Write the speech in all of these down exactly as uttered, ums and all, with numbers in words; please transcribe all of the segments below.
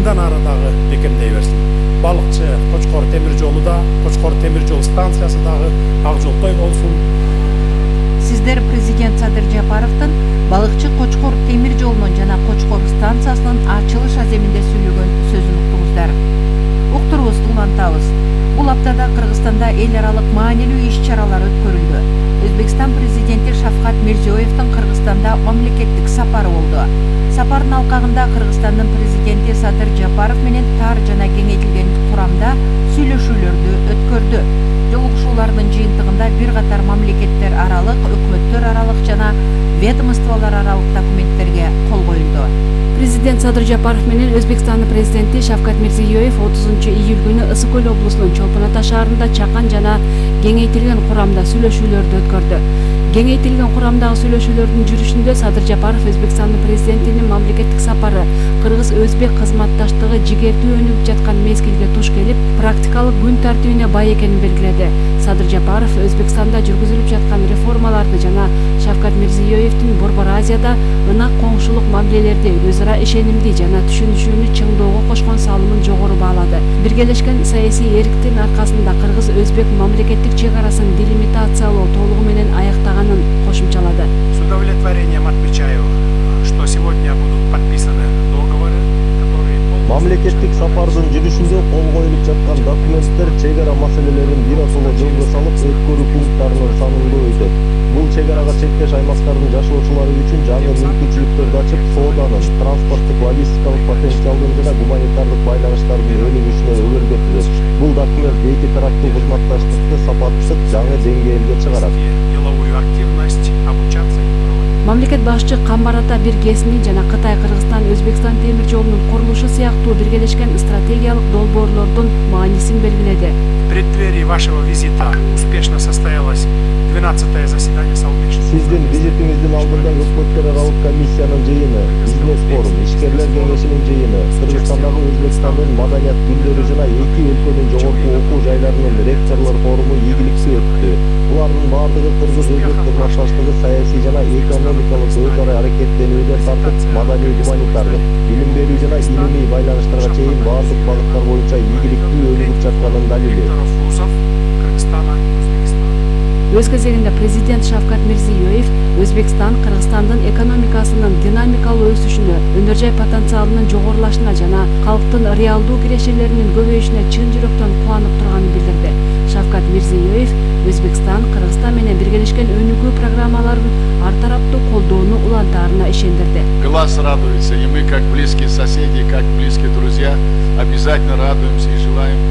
мындан ары дагы бекемдей берсин. Балыкчы Кочкор темир жолу да, Кочкор темир жол станциясы дагы ак жолтой болсун. Сиздер президент Садыр Жапаровдун Балыкчы Кочкор темир жолунун жана Кочкор станциясынын ачылыш аземинде сүйлөгөн сөзүн уктуңуздар. Уктуруубузду улантабыз. Бул аптада Кыргызстанда эл аралык маанилүү иш-чаралар өткөрүлдү. Өзбекстан президенти Шавкат Мирзиёевдин Кыргызстанда мамлекеттик сапары болду. Сапардын алкагында Кыргызстандын президенти Садыр Жапаров менен тар жана кеңейтилген курамда сүйлөшүүлөрдү өткөрдү. Жолугушуулардын жыйынтыгында бир катар мамлекеттер аралык, өкмөттөр аралык жана ведомстволор аралык документтерге кол коюлду. Президент Садыр Жапаров менен Өзбекстандын президенти Шавкат Мирзиёев отузунчу июль күнү Ысык көл облусунун Чолпон Ата шаарында чакан жана кеңейтилген курамда сүйлөшүүлөрдү өткөрдү. Кеңейтилген курамдагы сүйлөшүүлөрдүн жүрүшүндө Садыр Жапаров Өзбекстандын президентинин мамлекеттик сапары кыргыз-өзбек кызматташтыгы жигердүү өнүгүп жаткан мезгилге туш келип, практикалык күн тартибине бай экенин белгиледи. Садыр Жапаров Өзбекстанда жүргүзүлүп жаткан реформаларды жана Шавкат Мирзиёевдин Борбор Азияда ынак коңшулук мамилелерди өзара ишенимдүү жана түшүнүшүүнү чыңдоого кошкон салымын жогору баалады. Биргелешкен саясий эриктин аркасында кыргыз-өзбек мамлекеттик чек арасын делимитациялоо толугу менен аяктаганын кошумчалады. С удовлетворением отмечаю, что сегодня будут подписаны договоры, которые... Мамлекеттик сапардын жүрүшүндө кол коюлуп жаткан документтер чек ара маселелерин биротоло жолго салып, өткөрүү пункттарынын санын көбөйтөт. Бул чек арага чектеш аймактардын жашоочулары үчүн жаңы мүмкүнчүлүктөрдү ачып, сооданын, транспорттук, логистикалык потенциалдын жана гуманитардык байланыштардын өнүгүшүнө өбөлгө түзөт. Бул документ эки тараптуу кызматташтыкты сапаттык жаңы деңгээлге чыгарат. Деловую активность, обучаться и проводить. Мамлекет башчы Камбар Ата биргесинин жана Кытай Кыргызстан Өзбекстан темир жолунун курулушу сыяктуу биргелешкен стратегиялык долбоорлордун маанисин белгиледи. В преддверии вашего визита успешно состоялось двенадцатое заседание совместного. Сиздин визитиңиздин алдында өкмөттөр аралык комиссиянын жыйыны, бизнес-форум, ишкерлер кеңешинин жыйыны, Кыргызстандагы Өзбекстандын маданият күндөрү жана эки өлкөнүн жогорку окуу жайларынын ректорлор форуму ийгиликтүү өттү. Булардын баардыгы кыргыз-өзбек кызматташтыгы саясий жана экономикалык өз ара аракеттенүүдөн тартып, маданий гуманитардык, билим берүү жана илимий байланыштарга чейин баардык багыттар боюнча ийгиликтүү өнүгүп жатканын далили. Өз кезегинде президент Шавкат Мирзиёев Өзбекстан Кыргызстандын экономикасынын динамикалуу өсүшүнө, өнөр жай потенциалынын жогорулашына жана калктын реалдуу кирешелеринин көбөйүшүнө чын жүрөктөн кубанып турганын билдирди. Шавкат Мирзиёев Өзбекстан Кыргызстан менен биргелешкен өнүгүү программаларын ар тараптуу колдоону улантаарына ишендирди. Глаз радуется, и мы, как близкие соседи, как близкие друзья, обязательно радуемся и желаем.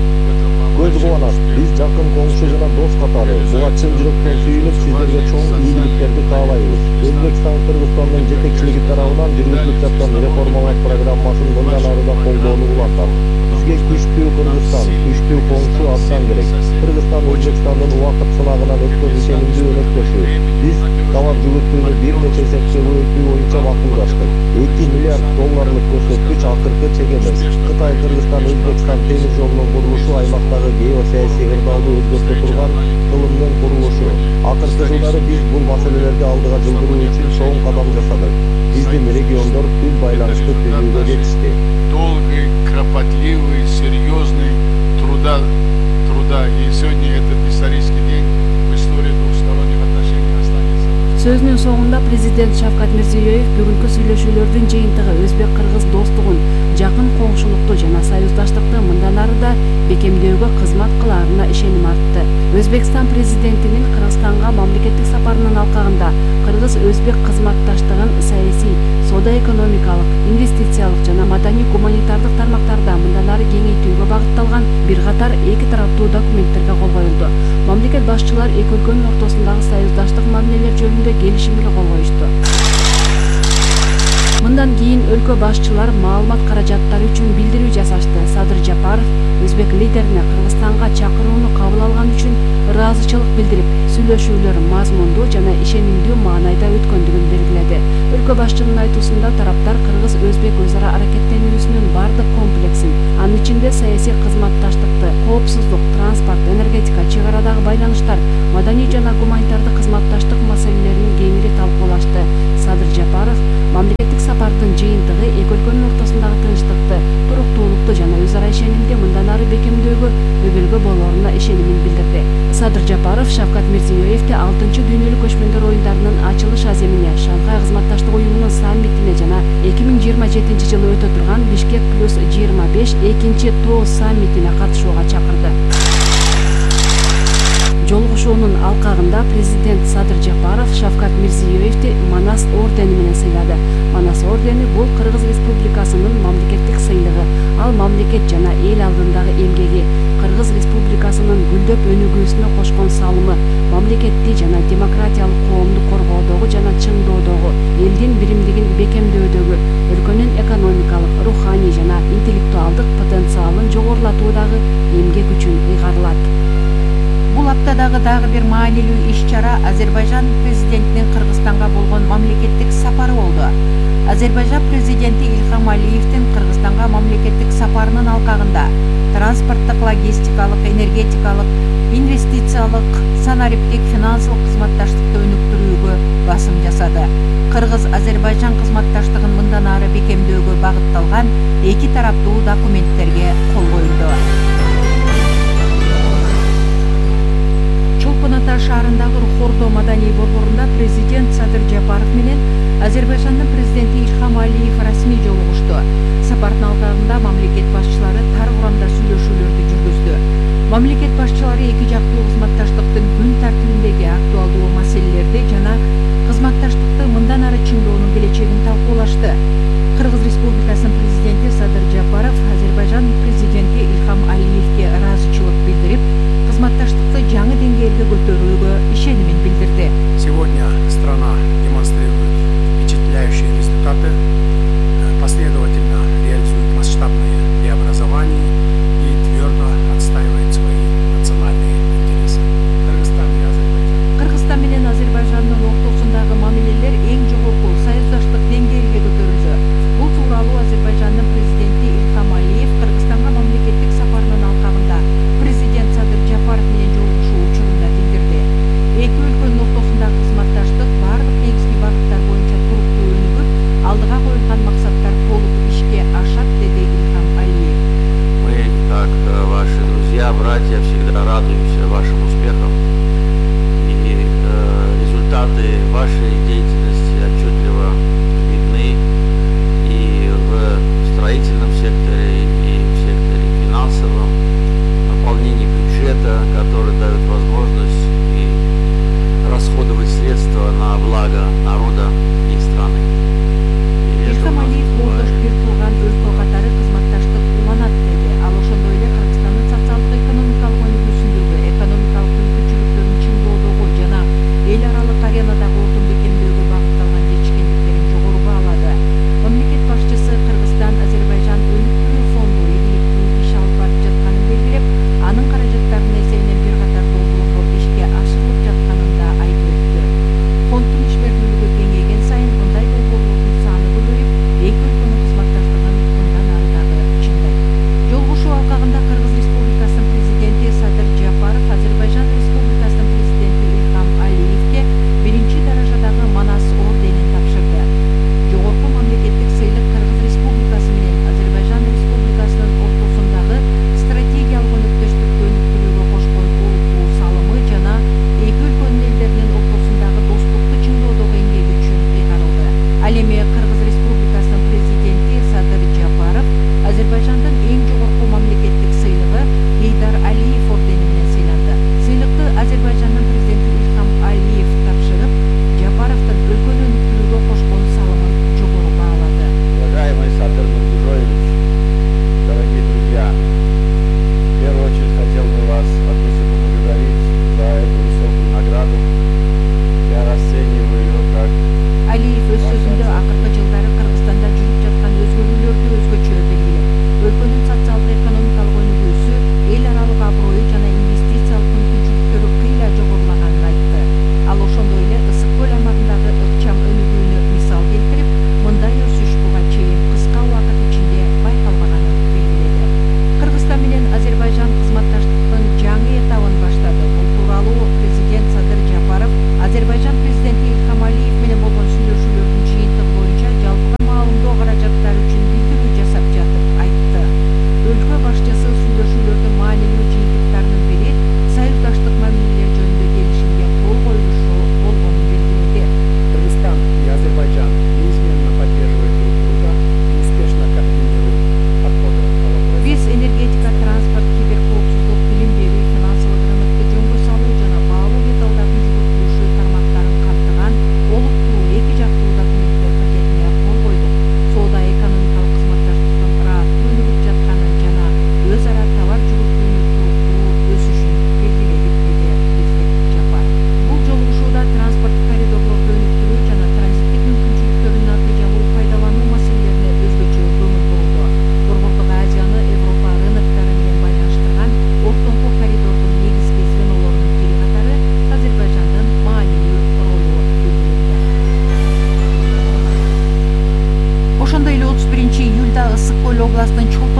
Көз кубанат, биз жакын коңшу жана дос катары буга чын жүрөктөн сүйүнүп, сиздерге чоң ийгиликтерди каалайбыз. Өзбекстан Кыргызстандын жетекчилиги тарабынан жүргүзүлүп жаткан реформалар программасын мындан ары да колдоону улантат. Бизге күчтүү Кыргызстан, күчтүү коңшу абдан керек. Кыргызстан Өзбекстандын убакыт сынагынан өткөн ишенимдүү өнөктөшү. Биз товар жүгүртүүнү бир нече эсепке көбөйтүү боюнча макулдаштык. эки миллиард долларлык көрсөткүч акыркы чек эмес. Кытай Кыргызстан Өзбекстан темир жолунун курулушу аймактагы геосаясий ырдалды өзгөртө турган кылымдын курулушу. Акыркы жылдары биз бул маселелерди алдыга жылдыруу үчүн чоң кадам жасадык. Биздин региондор тил байланышты түзүүгө жетишти. Долгий, кропотливый, серьезный труда, труда. И сегодня этот исторический день в истории двухсторонних отношений останется. Сөзүнүн соңунда президент Шавкат Мирзиёев бүгүнкү сүйлөшүүлөрдүн жыйынтыгы өзбек-кыргыз достугун, жакын коңшулукту жана союздаштыкты мындан ары да бекемдөөгө кызмат кылаарына ишеним артты. Өзбекстан президентинин Кыргызстанга мамлекеттик сапарынын алкагында кыргыз-өзбек кызматташтыгын саясий, соода-экономикалык, инвестициялык жана маданий-гуманитардык тармактарда мындан ары кеңейтүүгө багытталган бир катар эки тараптуу документтерге кол коюлду. Мамлекет башчылар эки өлкөнүн ортосундагы союздаштык мамилелер жөнүндө келишимге кол коюшту. Мындан кийин өлкө башчылар маалымат каражаттары үчүн билдирүү жасашты. Садыр Жапаров өзбек лидерине Кыргызстанга чакырууну кабыл алган үчүн ыраазычылык билдирип, сүйлөшүүлөр мазмундуу жана ишенимдүү маанайда өткөндүгүн белгиледи. Өлкө башчынын айтуусунда тараптар кыргыз-өзбек өз ара аракеттенүүсүнүн бардык комплексин, анын ичинде саясий кызматташтыкты, коопсуздук, транспорт, энергетика, чек арадагы байланыштар, маданий жана гуманитардык кызматташтык маселелерин кеңири талкуулашты. Садыр Жапаров мамлекеттик сапардын жыйынтыгы эки өлкөнүн ортосундагы тынчтыкты, туруктуулукту ишенимин билдирди. Садыр Жапаров Шавкат Мирзиёевди алтынчы дүйнөлүк көчмөндөр оюндарынын ачылыш аземине, Шанхай кызматташтык уюмунун саммитине жана эки миң жыйырма жетинчи жылы өтө турган Бишкек плюс жыйырма беш экинчи тоо саммитине катышууга чакырды. Жолугушуунун алкагында президент Садыр Жапаров Шавкат Мирзиёевди Манас ордени менен сыйлады. Манас ордени бул Кыргыз Республикасынын мамлекеттик сыйлыгы. Ал мамлекет жана эл алдындагы эмгеги, Кыргыз Республикасынын гүлдөп өнүгүүсүнө кошкон салымы, мамлекетти жана демократиялык коомду коргоодогу жана чыңдоодогу, элдин биримдигин бекемдөөдөгү, өлкөнүн экономикалык, руханий жана интеллектуалдык потенциалын жогорулатуудагы эмгек үчүн ыйгарылат. Бул аптадагы дагы бир маанилүү иш-чара Азербайжан президентинин Кыргызстанга болгон мамлекеттик сапары болду. Азербайжан президенти Илхам Алиевдин Кыргызстанга мамлекеттик сапарынын алкагында транспорттук, логистикалык, энергетикалык, инвестициялык, санариптик, финансылык кызматташтыкты өнүктүрүүгө басым жасады. Кыргыз-Азербайжан кызматташтыгын мындан ары бекемдөөгө багытталган эки тараптуу документтерге кол коюлду. Чолпон Ата шаарындагы Рухордо маданий борборунда президент Садыр Жапаров менен Азербайжандын президенти Илхам Алиев расмий жолугушту. Сапардын алкагында мамлекет башчылары тар курамда сүйлөшүүлөрдү жүргүздү. Мамлекет башчылары эки жактуу кызматташтыктын күн тартибиндеги актуалдуу маселелерди жана кызматташтыкты мындан ары чыңдоонун келечегин талкуулашты. Кыргыз Республикасынын президенти Садыр Жапаров Азербайжан президенти Илхам Алиевге ыраазычылык билдирип, кызматташтыкты жаңы деңгээлге көтөрүүгө ишенимин билдирди. Сегодня страна демонстрирует впечатляющие результаты, последовательно реализует масштабные преобразования и твердо отстаивает свои национальные интересы. Кыргызстан и Азербайджан. Кыргызстан менен Азербайжандын ортосундагы мамилелер эң жогорку союздаштык деңгээлге көтөрүлдү. Бул тууралуу Азербайжандын президенти Илхам Алиев Кыргызстанга мамлекеттик сапарынын алкагында президент Садыр Жапаров менен жолугушуу учурунда билдирди. Эки өлкөнүн ортосундагы кызматташтык бардык негизги багыттар боюнча туруктуу өнүгүп, алдыга коюлган максаттар толук ишке ашат, деди Илхам Алиев. Мы, как ваши друзья, братья, всегда радуемся вашим успехам. И э, результаты вашей деятельности отчетливо видны и в строительном секторе, и в секторе финансовом, наполнении бюджета, который дает возможность и расходовать средства на благо народа и страны. И Илхам Алиев болдош бир тууган өлкө катары кызматташтык уланат деди. Ал ошондой эле Кыргызстандын социалдык экономикалык өнүгүүсүндөгү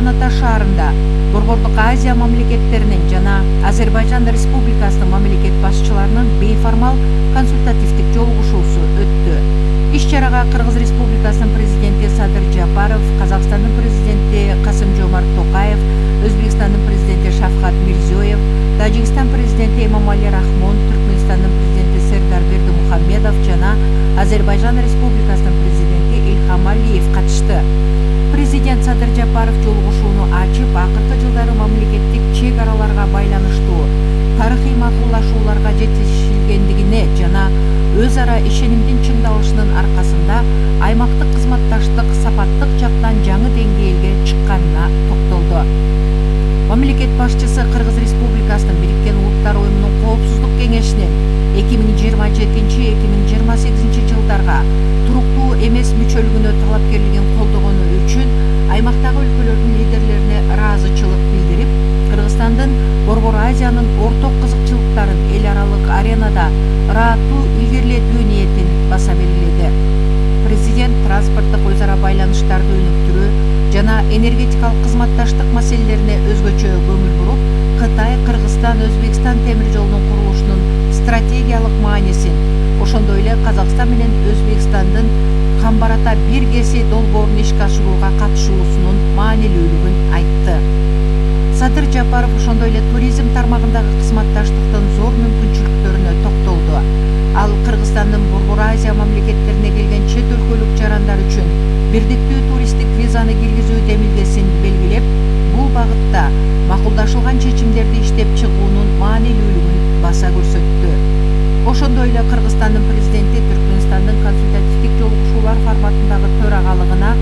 Чолпон Ата шаарында Борбордук Азия мамлекеттеринин жана Азербайжан Республикасынын мамлекет башчыларынын бейформал консультативдик жолугушуусу өттү. Иш-чарага Кыргыз Республикасынын президенти Садыр Жапаров, Казакстандын президенти Касым-Жомарт Токаев, Өзбекстандын президенти Шавкат Мирзиёев, Тажикстан президенти Эмомали Рахмон, Түркмөнстандын президенти Сердар Бердимухамедов жана Азербайжан Республикасынын президенти Илхам Алиев катышты. Президент Садыр Жапаров жолугушууну ачып, акыркы жылдары мамлекеттик чек араларга байланыштуу тарыхый макулдашууларга жетишилгендигине жана өз ара ишенимдин чыңдалышынын аркасында аймактык кызматташтык сапаттык жактан жаңы деңгээлге чыкканына токтолду. Мамлекет башчысы Кыргыз Республикасынын Бириккен Улуттар Уюмунун Коопсуздук кеңешинин эки миң жыйырма жетинчи эки миң жыйырма сегизинчи жылдарга туруктуу эмес мүчөлүгүнө талапкерлигин колдогону үчүн аймактагы өлкөлөрдүн лидерлерине ыраазычылык билдирип, Кыргызстандын Борбор Азиянын орток кызыкчылыктарын эл аралык аренада ырааттуу илгерилетүү ниетин баса белгиледи. Президент транспорттук өз ара байланыштарды өнүктүрүү жана энергетикалык кызматташтык маселелерине өзгөчө көңүл буруп, Кытай, Кыргызстан, Өзбекстан темир жолунун курулушунун стратегиялык маанисин, ошондой эле Казакстан менен Өзбекстандын Камбар-Ата бир кеси долбоорун ишке ашырууга катышуусунун маанилүүлүгүн айтты. Садыр Жапаров ошондой эле туризм тармагындагы кызматташтыктын зор мүмкүнчүлүктөрүнө токтолду. Ал Кыргызстандын Борбор Азия мамлекеттерине келген чет өлкөлүк жарандар үчүн бирдиктүү туристтик визаны киргизүү демилгесин белгилеп, бул багытта макулдашылган чечимдерди иштеп чыгуунун маанилүүлүгүн баса көрсөттү. Ошондой эле Кыргызстандын президенти Түркмөнстандын консультативдик жолугушуулар форматындагы төрагалыгына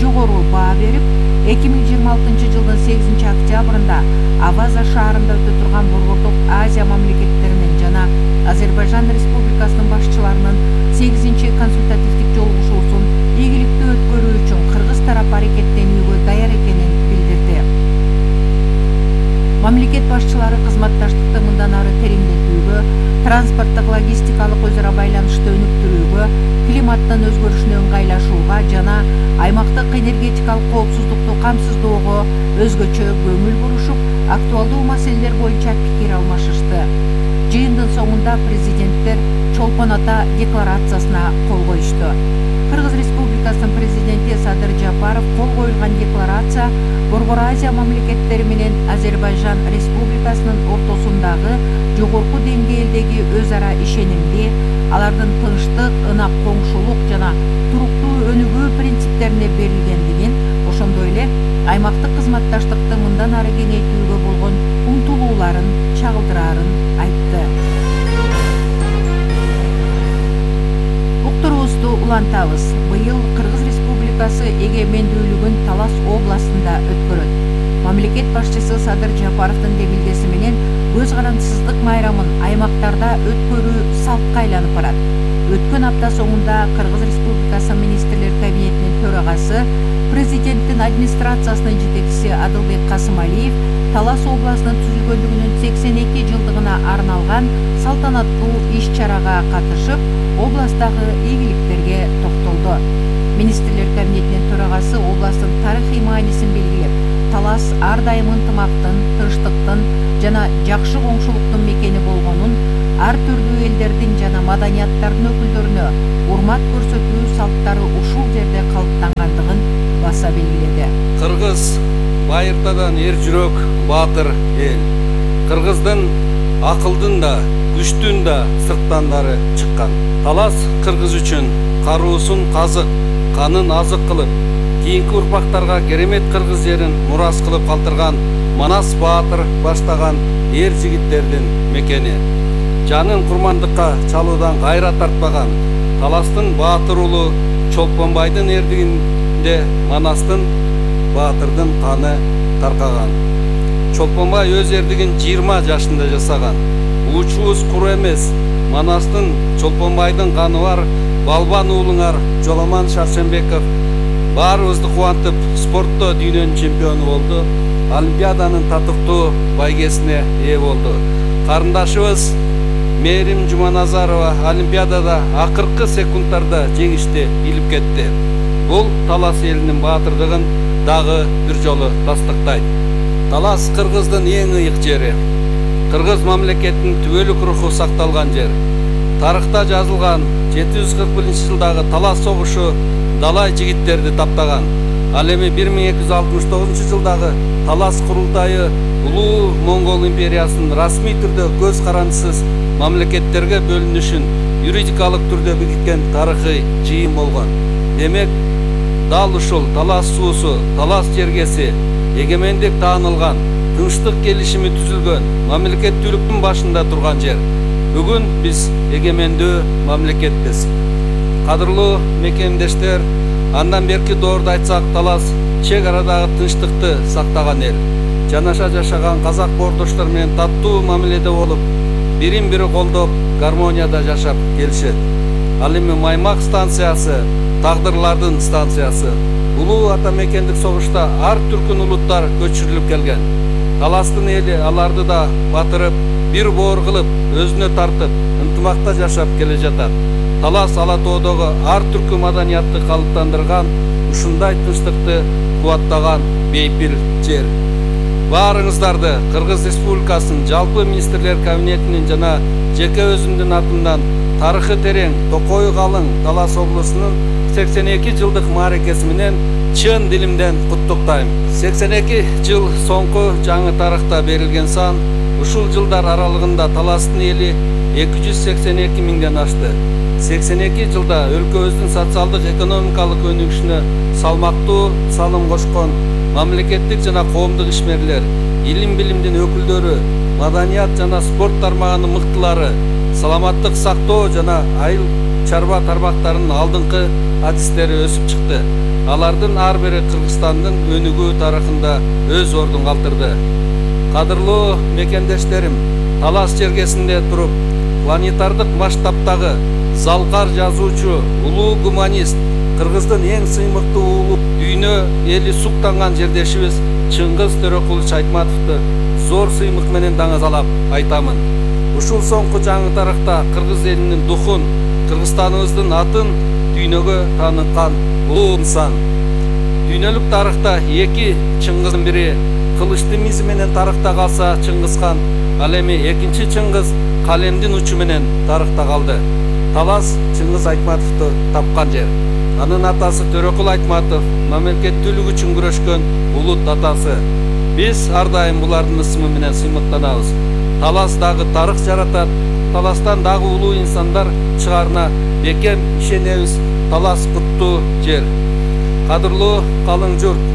жогору баа берип, эки миң жыйырма алтынчы жылдын сегизинчи октябрында Аваза шаарында өтө турган Борбордук Азия мамлекеттеринин жана Азербайжан Республикасынын башчыларынын сегизинчи консультативдик жолугушуусун ийгиликтүү өткөрүү үчүн кыргыз тарап аракеттенүүгө даяр экенин билдирди. Мамлекет башчылары кызматташтыкты мындан ары тереңдетүүгө, транспорттук логистикалык өз ара байланышты өнүктүрүүгө, климаттын өзгөрүшүнө ыңгайлашууга жана аймактык энергетикалык коопсуздукту камсыздоого өзгөчө көңүл бурушуп, актуалдуу маселелер боюнча пикир алмашышты. Жыйындын соңунда президенттер Чолпон Ата декларациясына кол коюшту. Кыргыз Республикасынын президенти Садыр Жапаров кол коюлган декларация Борбор Азия мамлекеттери менен Азербайжан Республикасынын ортосундагы жогорку деңгээлдеги өз ара ишенимди, алардын тынчтык, ынак коңшулук жана туруктуу өнүгүү принциптерине берилгендигин, ошондой эле аймактык кызматташтыкты мындан ары кеңейтүүгө болгон умтулууларын чагылдырарын айтты. Уктуруубузду улантабыз. Быйыл Кыргыз Республикасы эгемендүүлүгүн Талас областында өткөрөт. Мамлекет башчысы Садыр Жапаровдун демилгеси менен көз карандысыздык майрамын аймактарда өткөрүү салтка айланып барат. Өткөн апта соңунда Кыргыз Республикасы министрлер кабинетинин төрагасы, президенттин администрациясынын жетекчиси Адылбек Касымалиев Талас областынын түзүлгөндүгүнүн сексен эки жылдыгына арналган салтанаттуу иш-чарага катышып, областагы ийгиликтерге токтолду. Министрлер кабинетинин төрагасы областтын тарыхый маанисин белгилеп, Талас ар дайым ынтымактын, тынчтыктын жана жакшы коңшулуктун мекени болгонун, ар түрдүү элдердин жана маданияттардын өкүлдөрүнө урмат көрсөтүү салттары ушул жерде калыптангандыгын баса белгиледи. Кыргыз байыртадан эр жүрөк, баатыр эл. Кыргыздын акылдын да, күчтүн да сырттандары чыккан. Талас кыргыз үчүн каруусун казык, канын азык кылып, кийинки урпактарга керемет кыргыз жерин мурас кылып калтырган Манас баатыр баштаган эр жигиттердин мекени. Жанын курмандыкка чалуудан кайра тартпаган Таластын баатыр уулу Чолпонбайдын эрдигинде Манастын баатырдын каны таркаган. Чолпонбай өз эрдигин жыйырма жашында жасаган. Учубуз куру эмес, Манастын Чолпонбайдын каны бар балбан уулуңар Жоламан Шаршембеков баарыбызды кубантып, спортто дүйнөнүн чемпиону болду. Олимпиаданын татыктуу байгесине ээ болду. Карындашыбыз Мээрим Жуманазарова Олимпиадада акыркы секундтарда жеңишти илип кетти. Бул Талас элинин баатырдыгын дагы бир жолу тастыктайт. Талас Кыргыздын эң ыйык жери. Кыргыз мамлекетинин түбөлүк руху сакталган жер. Тарыхта жазылган жети жүз кырк биринчи жылдагы Талас согушу далай жигиттерди таптаган. Ал эми бир миң эки жүз алтымыш тогузунчу жылдагы Талас курултайы улуу Моңгол империясынын расмий түрдө көз карандысыз мамлекеттерге бөлүнүшүн юридикалык түрдө бекиткен тарыхый жыйын болгон. Демек, дал ушул Талас суусу, Талас жергеси эгемендик таанылган, тынчтык келишими түзүлгөн мамлекеттүүлүктүн башында турган жер. Бүгүн биз эгемендүү мамлекетпиз. Кадырлуу мекендештер, андан берки доорду айтсак, Талас чек арадагы тынчтыкты сактаган эл. Жанаша жашаган казак боордоштор менен таттуу мамиледе болуп, бирин бири колдоп, гармонияда жашап келишет. Ал эми Маймак станциясы, тагдырлардын станциясы. Улуу ата мекендик согушта ар түркүн улуттар көчүрүлүп келген. Таластын эли аларды да батырып, бир боор кылып, өзүнө тартып, ынтымакта жашап келе жатат. Талас Ала тоодогу ар түркү маданиятты калыптандырган, ушундай тынчтыкты кубаттаган бейпил жер. Баарыңыздарды Кыргыз Республикасынын жалпы министрлер кабинетинин жана жеке өзүмдүн атымдан тарыхы терең, токою калың Талас облусунун сексен эки жылдык мааракеси менен чын дилимден куттуктайм. сексен эки жыл соңку жаңы тарыхта берилген сан, ушул жылдар аралыгында Таластын эли эки жүз сексен эки миңден ашты. сексен эки жылда өлкөбүздүн социалдык экономикалык өнүгүшүнө салмактуу салым кошкон мамлекеттик жана коомдук ишмерлер, илим билимдин өкүлдөрү, маданият жана спорт тармагынын мыктылары, саламаттык сактоо жана айыл чарба тармактарынын алдыңкы адистери өсүп чыкты. Алардын ар бири Кыргызстандын өнүгүү тарыхында өз ордун калтырды. Кадырлуу мекендештерим, Талас жергесинде туруп, планетардык масштабтагы залкар жазуучу, улуу гуманист, Кыргыздын эң сыймыктуу уулу, дүйнө эли суктанган жердешибиз Чыңгыз Төрөкулович Айтматовду зор сыймык менен даңазалап айтамын. Ушул соңку жаңы тарыхта Кыргыз элинин духун, Кыргызстаныбыздын атын дүйнөгө тааныткан улуу инсан. Дүйнөлүк тарыхта эки Чыңгыздын бири кылычты мизи менен тарыхта калса Чыңгызхан, ал эми экинчи Чыңгыз калемдин учу менен тарыхта калды. Талас Чыңгыз Айтматовду тапкан жер. Анын атасы Төрөкул Айтматов мамлекеттүүлүк үчүн күрөшкөн улут атасы. Биз ар дайым булардын ысымы менен сыймыктанабыз. Талас дагы тарых жаратат, Таластан дагы улуу инсандар чыгарына бекем ишенебиз. Талас куттуу жер. Кадырлуу калың журт,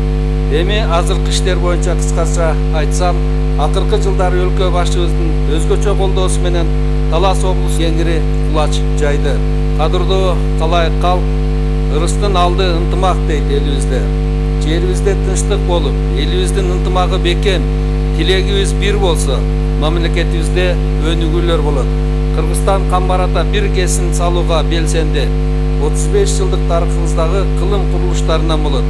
эми азыркы иштер боюнча кыскача айтсам, акыркы жылдары өлкө башчыбыздын өзгөчө колдоосу менен Талас облусу кеңири кулач жайды. Кадырлуу калайык калк, ырыстын алды ынтымак дейт элибизде. Жерибизде тынчтык болуп, элибиздин ынтымагы бекем, тилегибиз бир болсо, мамлекетибизде өнүгүүлөр болот. Кыргызстан камбарата бир кесин салууга белсенди. отуз беш жылдык тарыхыбыздагы кылым курулуштарынан болот.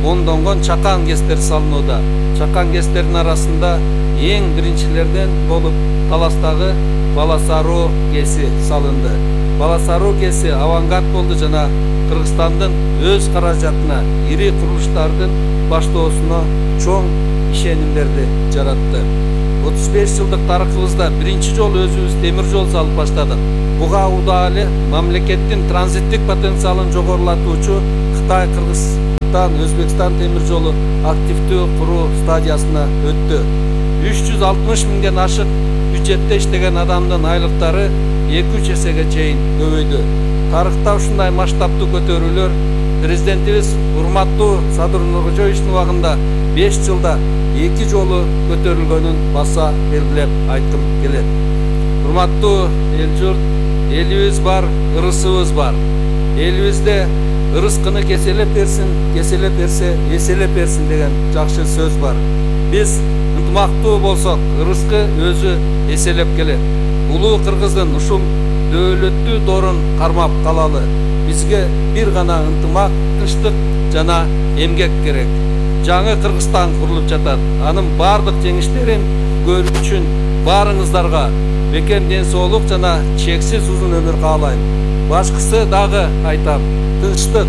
Ондонгон чакан кестер салынууда. Чакан кестердин арасында эң биринчилерден болуп Таластагы Баласаруу кеси салынды. Баласаруу кеси авангард болду жана Кыргызстандын өз каражатына ири курулуштардын баштоосуна чоң ишенимдерди жаратты. отуз беш жылдык тарыхыбызда биринчи жолу өзүбүз темир жол салып баштадык. Буга убада эле мамлекеттин транзиттик потенциалын жогорулатуучу Кытай, Кыргызстан, Өзбекстан темир жолу активдүү куруу стадиясына өттү. үч жүз алтымыш миңден ашык бюджетте иштеген адамдын айлыктары эки үч эсеге чейин көбөйдү. Тарыхта ушундай масштабтуу көтөрүүлөр президентибиз урматтуу Садыр Нуркожоевичтин убагында беш жылда эки жолу көтөрүлгөнүн баса белгилеп айткым келет. Урматтуу эл журт, элибиз бар, ырысыбыз бар. Элибизде ырыскыны кеселеп берсин, кеселеп берсе эселеп берсин деген жакшы сөз бар. Биз ынтымактуу болсок, ырыскы өзү эселеп келет. Улуу Кыргыздын ушул дөөлөттүү доорун кармап калалы. Бизге бир гана ынтымак, тынчтык жана эмгек керек. Жаңы Кыргызстан курулуп жатат. Анын бардык жеңиштерин көрүү үчүн баарыңыздарга бекем ден соолук жана чексиз узун өмүр каалайм. Башкысы дагы айтам, тынчтык,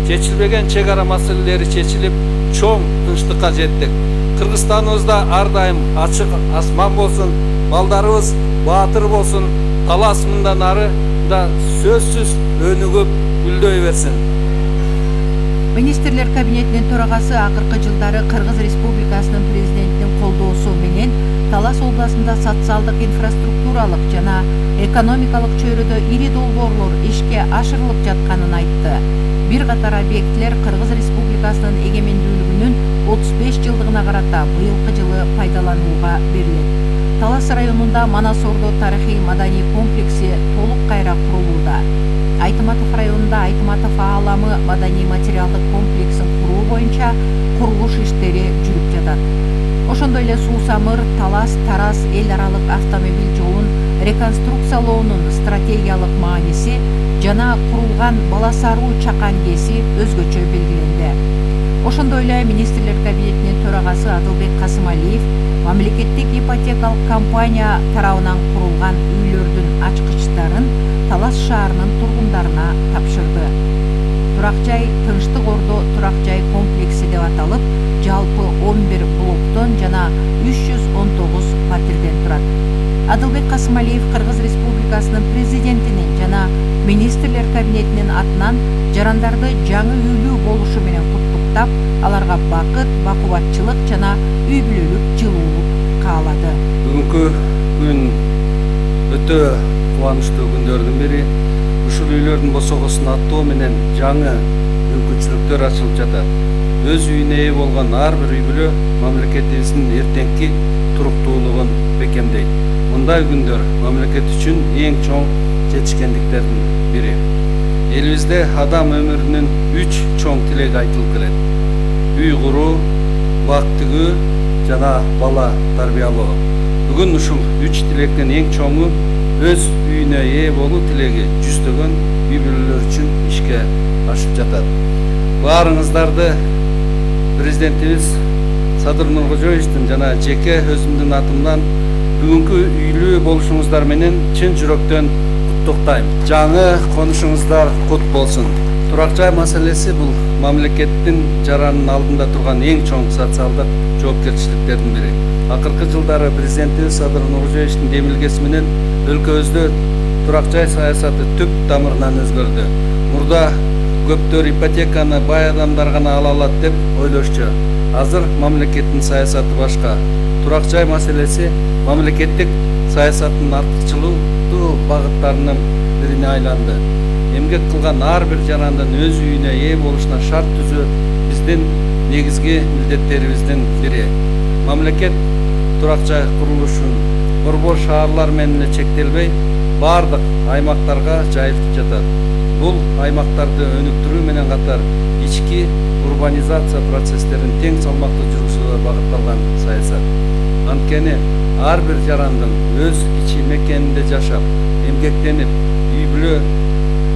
чечилбеген чек ара маселелери чечилип, чоң тынчтыкка жеттик. Кыргызстаныбызда ар дайым ачык асман болсун, балдарыбыз баатыр болсун, талас мындан ары да сөзсүз өнүгүп гүлдөй берсин. Министрлер кабинетинин төрагасы акыркы жылдары Кыргыз Республикасынын президентинин колдоосу менен Талас областында социалдык инфраструктуралык жана экономикалык чөйрөдө ири долбоорлор ишке ашырылып жатканын айтты. Бир катар объектилер Кыргыз Республикасынын эгемендүүлүгүнүн отуз беш жылдыгына карата быйылкы жылы пайдаланууга берилет. Талас районунда Манас Ордо тарыхый маданий комплекси толук кайра курулууда. Айтматов районунда Айтматов ааламы маданий материалдык комплексин куруу боюнча курулуш иштери жүрүп жатат. Ошондой эле Суу-Самыр Талас Тарас эл аралык автомобиль жолун реконструкциялоонун стратегиялык мааниси жана курулган Баласаруу Чакан КЭСи өзгөчө белгиленди. Ошондой эле Министрлер кабинетинин төрагасы Адылбек Касымалиев мамлекеттик ипотекалык компания тарабынан курулган үйлөрдүн ачкычтарын Талас шаарынын тургундарына тапшырды. Турак жай Тынчтык Ордо турак жай комплекси деп аталып, жалпы он бир блоктон жана үч жүз он тогуз фатирден турат. Адылбек Касымалиев Кыргыз Республикасынын президентинин жана Министрлер кабинетинин атынан жарандарды жаңы үйлүү болушу менен куттуктап, аларга бакыт, бакубатчылык жана үй бүлөлүк жылуулук каалады. Бүгүнкү күн өтө кубанычтуу күндөрдүн бири. Ушул үйлөрдүн босогосун аттоо менен жаңы мүмкүнчүлүктөр ачылып жатат. Өз үйүнө ээ болгон ар бир үй бүлө мамлекетибиздин эртеңки туруктуулугун бекемдейт. Мындай күндөр мамлекет үчүн эң чоң жетишкендиктердин бири. Элибизде адам өмүрүнүн үч чоң тилеги айтылып келет. Үй куруу, бак тигүү жана бала тарбиялоо. Бүгүн ушул үч тилектин эң чоңу өз үйүнө ээ болуу тилеги жүздөгөн үй бүлөлөр үчүн ишке ашып жатат. Баарыңыздарды президентибиз Садыр Нуркожоевичтин жана жеке өзүмдүн атымдан бүгүнкү үйлүү болушуңуздар менен чын жүрөктөн куттуктайм. Жаңы конушуңуздар кут болсун. Турак жай маселеси бул мамлекеттин жаранын алдында турган эң чоң социалдык жоопкерчиликтердин бири. Акыркы жылдары президентибиз Садыр Нуркожоевичтин демилгеси менен өлкөбүздө турак жай саясаты түп тамырынан өзгөрдү. Мурда көптөр ипотеканы бай адамдар гана ала алат деп ойлошчу. Азыр мамлекеттин саясаты башка. Турак жай маселеси мамлекеттик саясаттын артыкчылыктуу багыттарынын бирине айланды. Эмгек кылган ар бир жарандын өз үйүнө ээ болушуна шарт түзүү биздин негизги милдеттерибиздин бири. Мамлекет турак жай курулушун борбор шаарлар менен эле чектелбей, бардык аймактарга жайылтып жатат. Бул аймактарды өнүктүрүү менен катар ички урбанизация процесстерин тең салмактуу жүргүзүүгө багытталган саясат. Анткени ар бир жарандын өз ичи мекенинде жашап, эмгектенип, үй бүлө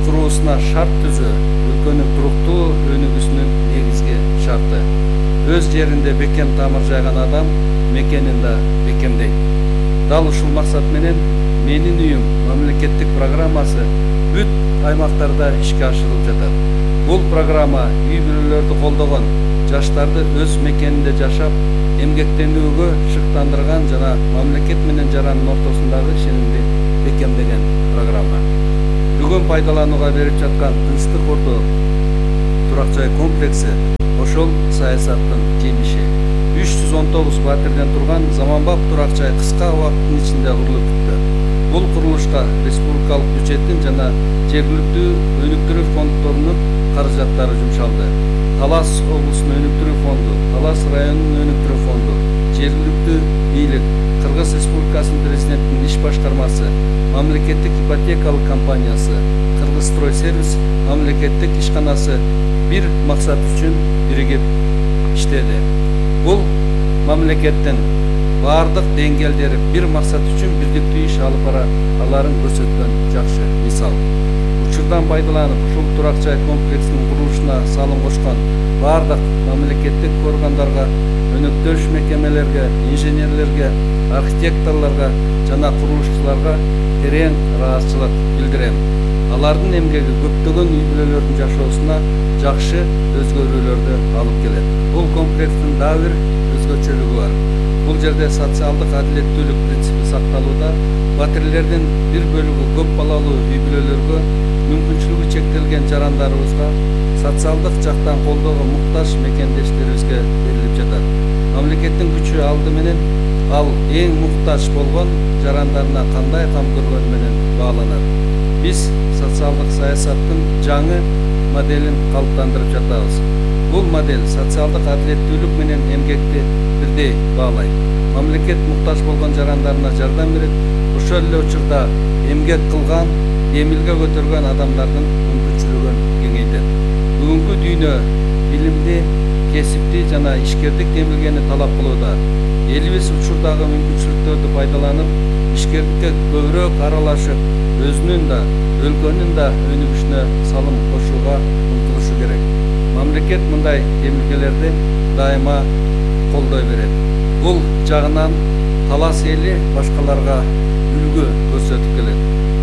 куруусуна шарт түзүү өлкөнүн туруктуу өнүгүүсүнүн негизги шарты. Өз жеринде бекем тамыр жайган адам мекенин да бекемдейт. Дал ушул максат менен менин үйүм мамлекеттик программасы бүт аймактарда ишке ашырылып жатат. Бул программа үй бүлөлөрдү колдогон, жаштарды өз мекенинде жашап, эмгектенүүгө шыктандырган жана мамлекет менен жарандын ортосундагы ишенимди бекемдеген программа. Бүгүн пайдаланууга берип жаткан Тынчтык Ордо турак жай комплекси ошол саясаттын жемиши. үч жүз он тогуз фатирден турган заманбап турак жай кыска убакыттын ичинде курулуп бүттү. Бул курулушка республикалык бюджеттин жана жергиликтүү өнүктүрүү фонддорунун каражаттары жумшалды. Талас облусунун өнүктүрүү фонду, Талас районунун өнүктүрүү фонду, жергиликтүү бийлик, Кыргыз Республикасынын президентинин иш башкармасы, мамлекеттик ипотекалык компаниясы, Кыргызстрой сервис мамлекеттик ишканасы бир максат үчүн биригип иштеди. Бул мамлекеттин бардык деңгээлдери бир максат үчүн бирдиктүү иш алып бара аларын көрсөткөн жакшы мисал. Учурдан пайдаланып, ушул турак жай комплексинин курулушуна салым кошкон бардык мамлекеттик органдарга, өнөктөш мекемелерге, инженерлерге, архитекторлорго жана курулушчуларга терең ыраазычылык билдирем. Алардын эмгеги көптөгөн үй бүлөлөрдүн жашоосуна жакшы өзгөрүүлөрдү алып келет. Бул комплекстин дагы бир өзгөчөлүгү бар. Бул жерде социалдык адилеттүүлүк принципи сакталууда. Батирлердин бир бөлүгү көп балалуу үй бүлөлөргө, мүмкүнчүлүгү чектелген жарандарыбызга, социалдык жактан колдоого муктаж мекендештерибизге берилип жатат. Мамлекеттин күчү алды менен ал эң муктаж болгон жарандарына кандай кам көргөнү менен бааланат. Биз социалдык саясаттын жаңы моделин калыптандырып жатабыз. Бул модель социалдык адилеттүүлүк менен эмгекти бирдей баалайт. Мамлекет муктаж болгон жарандарына жардам берет, ошол эле учурда эмгек кылган, эмилге көтөргөн адамдардын мүмкүнчүлүгүн кеңейтет. Бүгүнкү дүйнө билимди, кесипти жана ишкердик эмилгени талап кылууда. Элибиз учурдагы мүмкүнчүлүктөрдү пайдаланып, ишкердикке көбүрөөк аралашып, өзүнүн да, өлкөнүн да өнүгүшүнө салым кошууга умтулушу керек. Мамлекет мындай эмилгелерди дайыма колдой берет. Бул жагынан талас эли башкаларга үлгү көрсөтүп келет.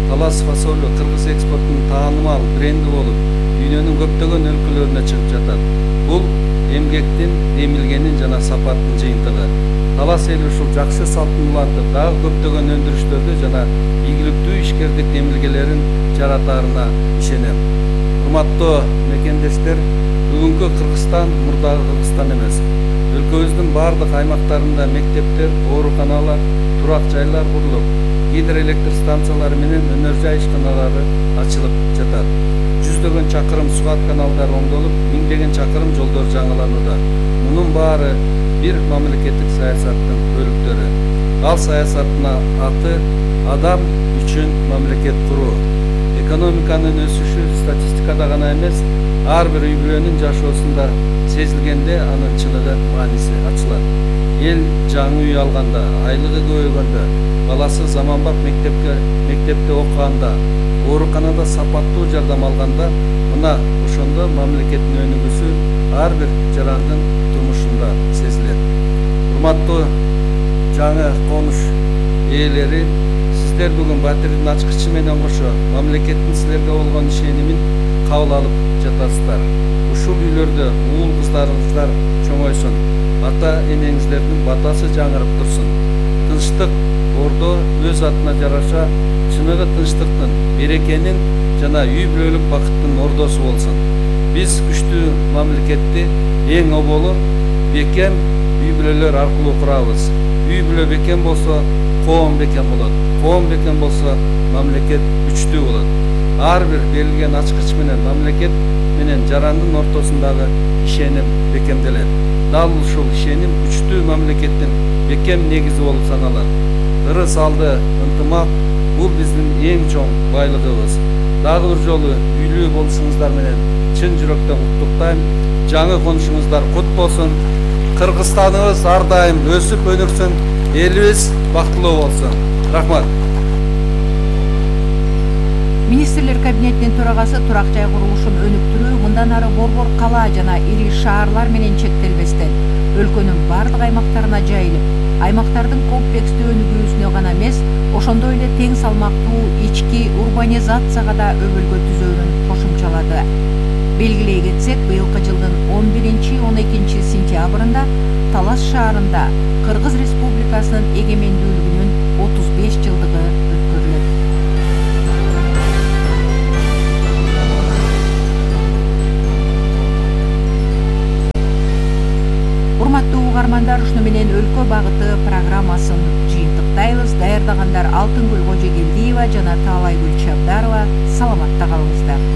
Талас фасолу кыргыз экспортунун таанымал бренди болуп, дүйнөнүн көптөгөн өлкөлөрүнө чыгып жатат. Бул эмгектин, эмилгенин жана сапаттын жыйынтыгы. Талас эли ушул жакшы салтын улантып, дагы көптөгөн өндүрүштөрдү жана ийгиликтүү ишкердик эмилгелерин жаратаарына ишенем. Урматтуу мекендештер, бүгүнкү Кыргызстан мурдагы Кыргызстан эмес. Өлкөбүздүн бардык аймактарында мектептер, ооруканалар, турак жайлар курулуп, гидроэлектр станциялары менен өнөр жай ишканалары ачылып жатат. Жүздөгөн чакырым сугат каналдары оңдолуп, миңдеген чакырым жолдор жаңыланууда. Мунун баары бир мамлекеттик саясаттын бөлүктөрү. Ал саясаттын аты адам үчүн мамлекет куруу. Экономиканын өсүшү статистикада гана эмес, ар бир үй бүлөнүн жашоосунда сезилгенде анын чыныгы мааниси ачылат. Эл жаңы үй алганда, айлыгы көбөйгөндө, баласы заманбап мектепке мектепте окуганда, ооруканада сапаттуу жардам алганда, мына ошондо мамлекеттин өнүгүүсү ар бир жарандын турмушунда сезилет. Урматтуу жаңы конуш ээлери, сиздер бүгүн батирдин ачкычы менен кошо мамлекеттин силерге болгон ишенимин кабыл алып жатасыздар. Ушул үйлөрдө уул кыздарыңыздар чоңойсун, ата энеңиздердин батасы жаңырып турсун. Тынчтык, ордо өз атына жараша чыныгы тынчтыктын, берекенин жана үй бүлөлүк бакыттын ордосу болсун. Биз күчтүү мамлекетти эң оболу бекем үй бүлөлөр аркылуу курабыз. Үй бүлө бекем болсо, коом бекем болот. Коом бекем болсо, мамлекет күчтүү болот. Ар бир берилген ачкыч менен мамлекет менен жарандын ортосундагы ишеним бекемделет. Дал ушул ишеним күчтүү мамлекеттин бекем негизи болуп саналат. Ырыс алды ынтымак бул биздин эң чоң байлыгыбыз. Дагы бир жолу үйлүү болушуңуздар менен чын жүрөктөн куттуктайм. Жаңы конушуңуздар кут болсун. Кыргызстаныбыз ар дайым өсүп өнүксүн. Элибиз бактылуу болсун. Рахмат. Министрлер кабинетинин төрагасы турак жай курулушун өнүктүрүү мындан ары борбор кала жана ири шаарлар менен чектелбестен өлкөнүн бардык аймактарына жайылып, аймактардын комплекстүү өнүгүүсүнө гана эмес, ошондой эле тең салмактуу ички урбанизацияга да өбөлгө түзөөнүн кошумчалады. Белгилей кетсек, быйылкы жылдын он биринчи он экинчи сентябрында Талас шаарында Кыргыз Республикасынын эгемендүүлүгүнүн отуз беш жылдыгы өткөрүлөт. Урматтуу угармандар, ушуну менен өлкө багыты программасын жыйынтыктайбыз. Даярдагандар Алтынгүл Кожогелдиева жана Таалайгүл Чабдарова. Саламатта калыңыздар.